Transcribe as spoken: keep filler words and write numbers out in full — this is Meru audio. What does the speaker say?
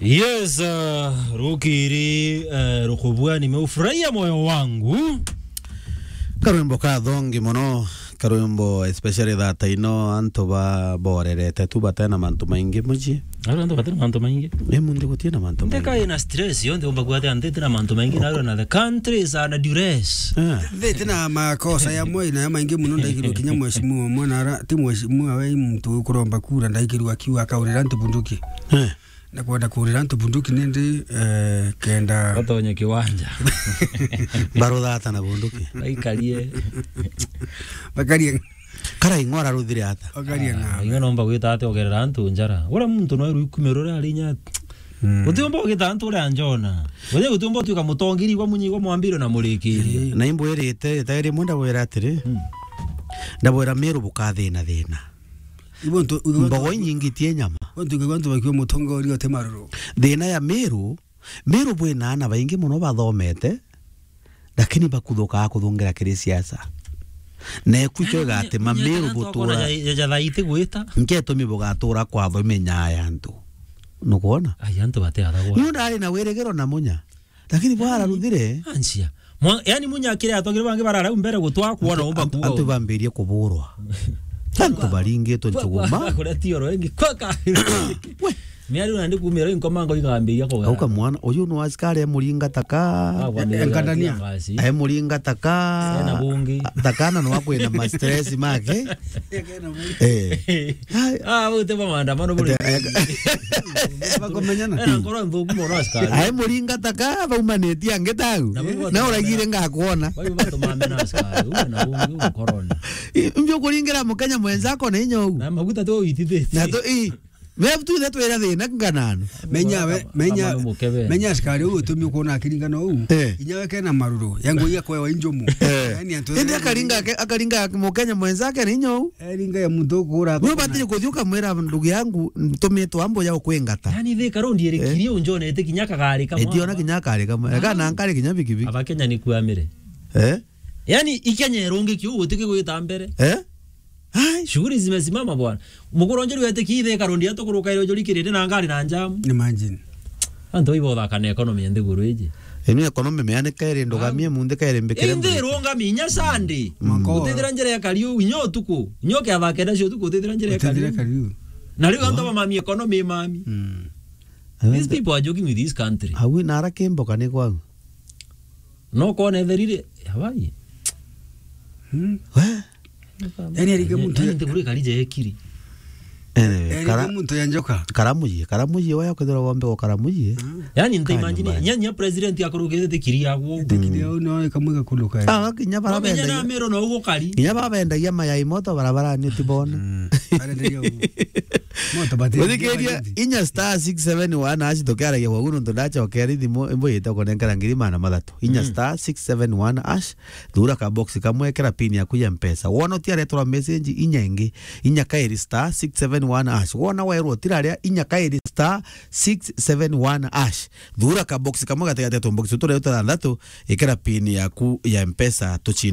Yes, uh, rukiri, uh, rukubua nimeufurahia moyo wangu. Karwimbo kathongi mono, karwimbo especially that I know antu ba borerete tu batena mantu maingi muji. Aro antu batena mantu maingi. Ni mundi gutina mantu maingi. Ndeka ina stress, yo ndi umba kuatia nditi na mantu maingi, na na the country is under duress. Eh. Nditi na makosa ya moi na ya maingi muno ndaikirwa kinya mheshimiwa mwana ara, ti mheshimiwa we muntu ukuromba kura ndaikirwa akiuga akaurira antu bunduki. Eh. Na kwenda kurira antu bunduki nindi, eh, kenda batonye kiwanja. Baruthata na bunduki. Baikarie. Bakarie. Kara ing'ora ruthire ata? Bakarie. Ah, ng'ambe. Iwe nomba gwita ati ogerera antu njara. Ura muntu no rwikumiro ria rinya. Mm. Utiumba ugita antu ria njona. Uthi utiumba utuika mutongiri igwa munyi igwa mwambiro na murikiri. Eh. Na imbwirite, itairi munda wira atiri. Mm. Ndabwira miru bukathina thina. Ibo ntu, ibo ntu, mbogo inyingi tie nyama. Ibo ntu, ibo ntu bakiwa mutongoria uti maruru. Thina ya Meru, Meru bwina ana baingi muno bathomete, lakini bakuthukaa kuthungira kiri siasa. Na eku icho igatima Meru butura. Ya, ya, ya thaiti gwita. Nketumi bugatura kwa tho imenyaa ya antu. Nukwona? Ai, antu bateathagwa. Niu ndari na wirigiro na Munya. Lakini bwara ruthire. Anjia. Mwa-, yani Munya akiri atogire bangi barara u mbere gutwa kuona umba kuga. Antu bambirie kuburwa. Antu baringitwe njuguma. Kuria tioro ingi. Kwaka. We. Miari una ndi kumira inko mango ikambiria kuga. Auka mwana, uyu no askari emuringa taka. Enkandania. Emuringa taka. Ena bungi. Takana no akwina ma stress make. Eh. Ah, bau ti bo maandamano buri. Bakumenyana. Ena ngoro nthuku mono askari. Ai muringa taka baumanitie angi tau. Na bau na uragire ngakwona. Bau batu mamena askari. Uwe na ungi ukoroni. Mbio kuringira mukenya mwenzako na inya u. Na maguta tu itithiti. Na tu i. Wewe tu ile twira thina nganano. Menya we, menya, menya askari u utumi kuona akiringana u. Eh. Inya we kena maruru. Yangu iya kwewa injumu. Eh. Yani antu indi akaringa ke-, akaringa mukenya mwenzake na inya u. Eringa ya muntu ukura. Wewe batiri kuthi ukamwira ndugu yangu ntumitwe ambo ya ukwingata. Yani thika rondi iri kirio njone ite kinya kagari kamwe. Itiona kinya kagari kamwe. Kana nkari kinya bikibiki. Abakenya ni kuamire. Eh? Yani ikenya irungi kiu gutiki gwita mbere. Eh? Ai. Shughuli zimesimama bwana. Mukuru njeru ete ki thika rondi atukuruka ire ujuri kirinde na ngari na njamu. Imagine. Antu ibo thaka na economy ya nthiguru iji. Inu economy meanike iri ndugamie munthi kairi mbikire. Inthi irungami inya Sunday. Utithira njira ya kariu inya utuku. Inya ukiatha kenda cia utuku utithira njira ya kariu. Na riu antu bamami economy mami. Mm. These people are joking with this country. Awi na ara kimboka ni kwau. No kone therire. Hawaii. Hmm. We. Yani, arige muntu yani, ntiguri karije ekiri. Anyway, yani, kara-, muntu ya njoka. Karamuji, karamuji, waya kwithira wombe kwa karamuji. Yani, nta imagine, nyanya president akorogete kiri ya gwo. Tikiri ya no, ikamwiga kundu kai. Ah, kinya bara bendagia. Menya na mero na ugo kari. Kinya bara bendagia mayai moto barabara ni utibona. Mm. Arenderia ugo. Moto bati. Uthikiria inya star six seven one hash tukiaragia kwa guno ndachokera thimu imbo yita kunenkera ngiri mana mathatu. Inya star six seven one hash. Thura ka box kamwe, kera pin yaku ya Mpesa. Wona utiaretwa message, inya ingi, inya kairi star six seven one hash. Wona werwo utiraria, inya kairi star six seven one hash. Thura ka box kamwe gatigati ya tumbox turia tuthanthatu, ikera pin yaku ya Mpesa, tuchinde.